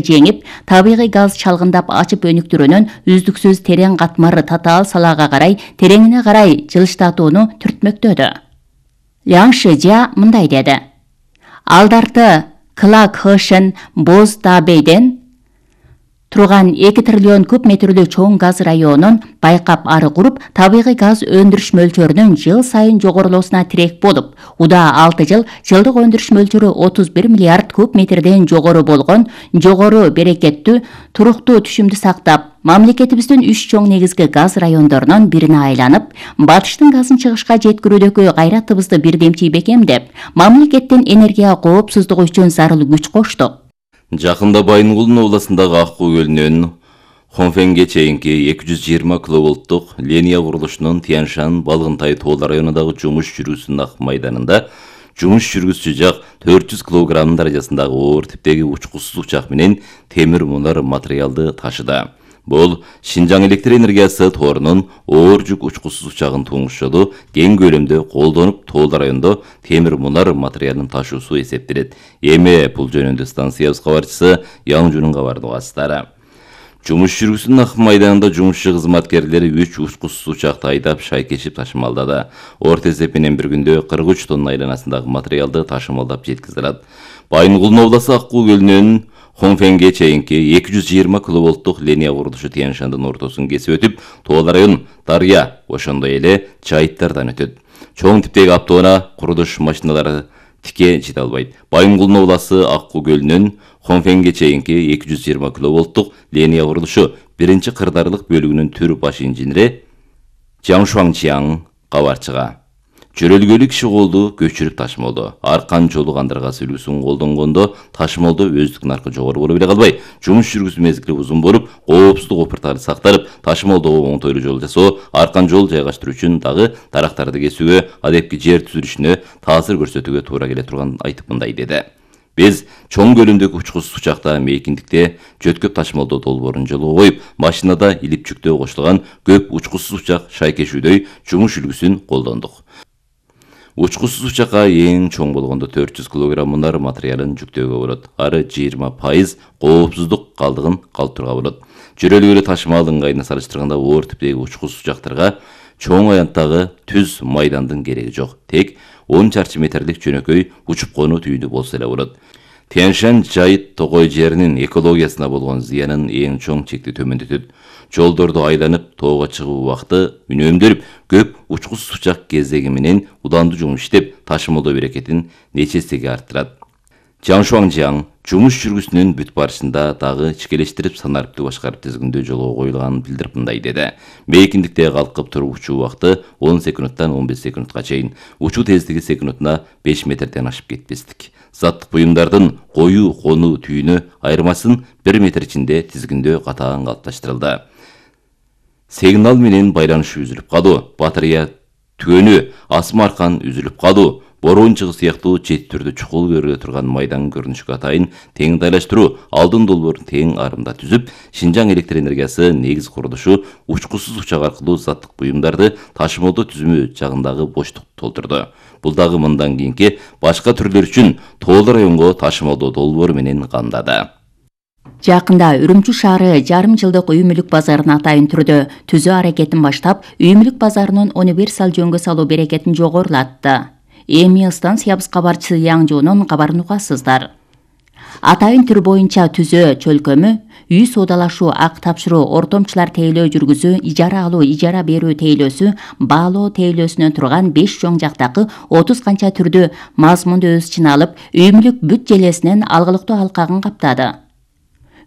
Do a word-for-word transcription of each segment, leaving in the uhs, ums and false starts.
жеңип, табигый газ чалгындап ачып өнүктүрүүнүн үздүксүз терең катмары татаал салаага карай тереңине карай жылыштатууну түртмөктөдү. Ляң Шижя мындай деди: Алдарты Клак Хэшен Боз Дабейден турган эки триллион куб метрлүү чоң газ районун байкап ары куруп, табигый газ өндүрүш мөлчөрүнүн жыл сайын жогорулоосуна тирек болуп, удаа алты жыл жылдык өндүрүш мөлчөрү отуз бир миллиард куб метрден жогору болгон жогору берекеттүү туруктуу түшүмдү сактап, мамлекетибиздин үч чоң негизги газ райондорунун бирине айланып, батыштын газын чыгышка жеткирүүдөгү кайратыбызды бирдемчий бекемдеп, мамлекеттин энергия коопсуздугу үчүн зарыл күч коштук. Жакында Байынгулдун областындагы Аккуу көлүнөн Хонфенге чейинки эки жүз жыйырма киловолттук линия курулушунун Тяншан Балгынтай тоол районундагы жумуш жүргүзүүсүнүн ак майданында жумуш жүргүзүүчү жак төрт жүз килограмм даражасындагы оор типтеги учкусуз учак менен темир мунар материалды ташыды. Бул Шинжаң электр энергиясы торунун оор жүк учкусуз учагын туңушчоду кең көлөмдө колдонуп, тоол райондо темир мунар материалын ташуусу эсептелет. Эми бул жөнүндө станциябыз кабарчысы Яңжунун кабарын угасыздар. Жумуш жүргүзүүсүнүн ак майданында жумушчу кызматкерлери үч учкусуз учакты айдап шайкешип ташымалдады. Орто эсеп менен бир күндө кырк үч тонна айланасындагы материалды ташымалдап жеткизилат. Байынгулдун областы Аккуу көлүнөн Хонфенге чейинки эки жүз жыйырма киловолттук линия курулушу Тяншандын ортосун кесип өтүп, тоол район Дарья, ошондой эле Чайыттардан өтөт. Чоң типтеги автоунаа курулуш машиналары тике жете албайт. Байынгулдун областы Аккуу көлүнөн Хонфенге чейинки эки жүз жыйырма киловолттук линия курулушу биринчи кырдаарлык бөлүгүнүн түр баш инженери Жаң Шуаңчиаң кабарчыга жөрөлгөлү киши колду көчүрүп ташымалды. Аркан жолу кандыргасы үлгүсүн колдонгондо ташымалдоо өздүк наркы жогору боло бере калбай, жумуш жүргүзүү мезгили узун болуп, коопсуздук опуртары сакталып, ташымалдоого оңтойлуу жол жасоо, аркан жол жайгаштыруу үчүн дагы дарактарды кесүүгө, адепки жер түзүлүшүнө таасир көрсөтүүгө туура келе турганын айтып мындай деди: Биз чоң көлөмдөгү учкусуз учакта мейкиндикте жөткөп ташымалдоо долбоорун жолго коюп, машинада илип жүктөө кошулган көп учкусуз учак шайкешүүдөй жумуш үлгүсүн колдондук. Учкусуз учакка эң чоң болгондо төрт жүз килограмм мунар материалын жүктөөгө болот. Ары жыйырма пайыз коопсуздук калдыгын калтырууга болот. Жөрөлгөлү ташымалдын ыңгайына салыштырганда оор типтеги учкусуз учактарга чоң аянттагы түз майдандын кереги жок. Тек он чарчы метрлик жөнөкөй учуп конуу түйүнү болсо эле болот. Тяншан Жайыт тогой жеринин экологиясына болгон зыянын эң чоң чекти төмөндөтөт. Жолдорду айланып тоого чыгуу убакыты үнөмдөлүп, көп учкусуз учак кезеги менен удандуу жумуш иштеп, ташымалдоо берекетин нече эсеге арттырат. Жаң Шуаңчиаң жумуш жүргүсүнүн бүт барышында дагы ичкелештирип санариптүү башкарып тизгиндөө жолго коюлганын билдирип мындай деди: Мейкиндикте калкып туруп учуу убакыты он секундтан он беш секундка чейин, учуу тездиги секундуна беш метрден ашып кетпестик. Заттык буюмдардын коюу конуу түйүнү айырмасын бир метр ичинде тизгиндөө катаан калыпташтырылды. Сигнал менен байланыш үзүлүп калуу, батарея түгөнү, асма аркан үзүлүп калуу, борон чыгы сыяктуу чет түрдө чукул көрүлө турган майдан көрүнүшкө атайын тең дайлаштыруу, алдын долбоорун тең арымда түзүп, Шинжаң электр энергиясы негиз курулушу учкусуз учак аркылуу заттык буюмдарды ташымалдоо түзүмү жагындагы боштукту толтурду. Бул дагы мындан кийинки башка түрлөр үчүн тоол районго ташымалдоо долбоору менен камдады. Жакында Үрүмчү шаары жарым жылдык үй мүлүк базарын атайын түрдө түзүү аракетин баштап, үй мүлүк базарынын универсал жөнгө салуу берекетин жогорулатты. Эми станциябыз кабарчысы Яңжунун кабарын угасыздар. Атайын түр боюнча түзөө чөлкөмү, үй соодалашуу, ак тапшыруу, ортомчулар тейлөө жүргүзүү, ижара алуу, ижара берүү тейлөөсү, баалоо тейлөөсүнөн турган беш чоң жактагы отуз канча түрдүү мазмунду өз ичине алып, үй мүлүк бүт желесинен алгылыктуу алкагын каптады.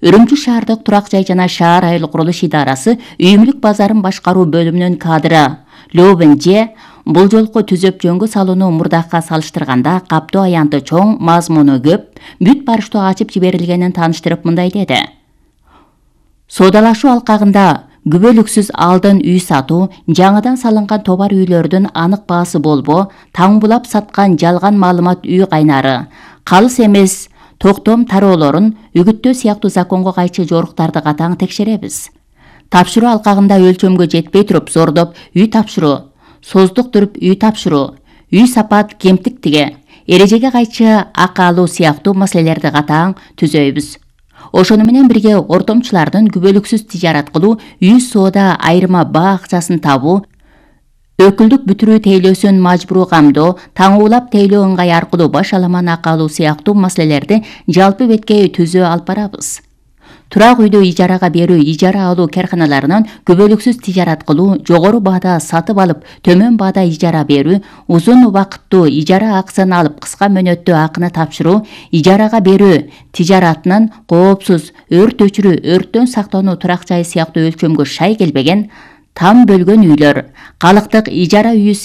Үрүмчү шаардык турак жай жана шаар айыл курулуш идарасы үй мүлүк базарын башкаруу бөлүмүнүн кадры Лёбен Же бул жолку түзөп жөнгө салууну мурдакка салыштырганда каптоо аянты чоң, мазмуну көп, бүт барыштуу ачып жиберилгенин тааныштырып мындай деди: Соодалашуу алкагында күбөлүксүз алдын үй сатуу, жаңыдан салынган товар үйлөрдүн анык баасы болбоо, таңбулап саткан жалган маалымат үй кайнары, калыс эмес токтом тароолорун үгүттөө сыяктуу законго кайчы жоруктарды катаң текшеребиз. Тапшыруу алкагында өлчөмгө жетпей туруп зордоп үй тапшыруу, создук туруп үй тапшыруу, үй сапат кемтиктиге, эрежеге кайчы акы алуу сыяктуу маселелерди катаң түзөйбүз. Ошону менен бирге ортомчулардын күбөлүксүз тижарат кылуу, үй соода айырма баа акчасын табуу, өкүлдүк бүтүрүү тейлөөсүн мажбуруу камдоо, таңуулап тейлөө ыңгай аркылуу баш аламан акы алуу сыяктуу маселелерди жалпы бетке түзөө алып барабыз. Турак үйдү ижарага берүү, ижара алуу карканаларынан күбөлүксүз тижарат кылуу, жогору баада сатып алып, төмөн баада ижара берүү, узун убакыттуу ижара акысын алып, кыска мөөнөттүү акыны тапшыруу, ижарага берүү тижаратынын коопсуз, өрт өчүрүү, өрттөн сактануу турак жайы сыяктуу өлчөмгө шай келбеген, там бөлгөн үйлөр, калктык ижара үйү